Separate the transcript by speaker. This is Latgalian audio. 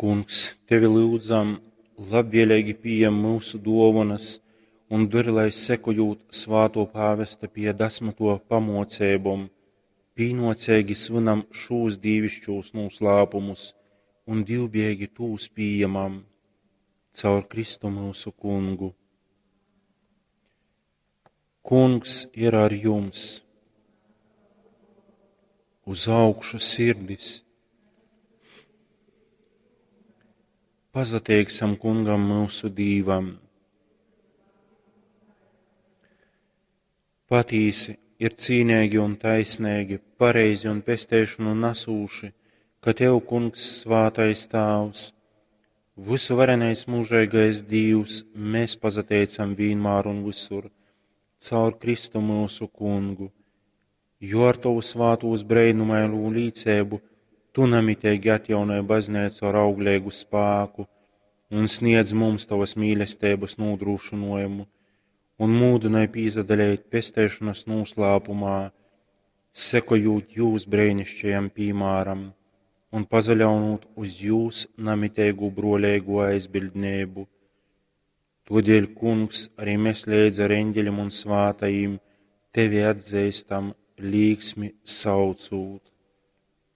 Speaker 1: Kungs, tevi lyudzam, labvēlīgi pījem myusu dōvonas un dori, lai sekojūt svātō pāvesta Pija X. Pamōceibom, pīnōceigi svynam šūs dīviškūs nūslāpumus un dīvbijeigi tūs pījemam. Caur Kristu myusu Kungu. Kungs ir ar jums! Uz augšu sirdis! Pasateiksim Kungam myusu Dīvam! Patīsi ir cīneigi un taisneigi, pareizi un pesteišonu nasūši, ka Tev, Kungs, svātais Tāvs, vysuvarenais mūžeigais Dīvs, mēs pasateicam vīnmār un visur, caur Kristu myusu Kungu, jo ar Tovu svātūs breinumainū līceibu Tu namiteigi atjaunoj bazneicu ar augleigu spāku un sniedz mums Tavas mīlestības nūdrūšynojumu un mūdynoj pīsadaleit pesteišonas nūslāpumā, sekojūt jūs breinišķajam pīmāram un pasaļaunūt uz jūs namiteigu brōleigo aizbiļdneibu. Todēļ, Kungs, arī mēs leidz ar eņģeļiem un svātajiem tevi atzīstam, līksmi saucūt.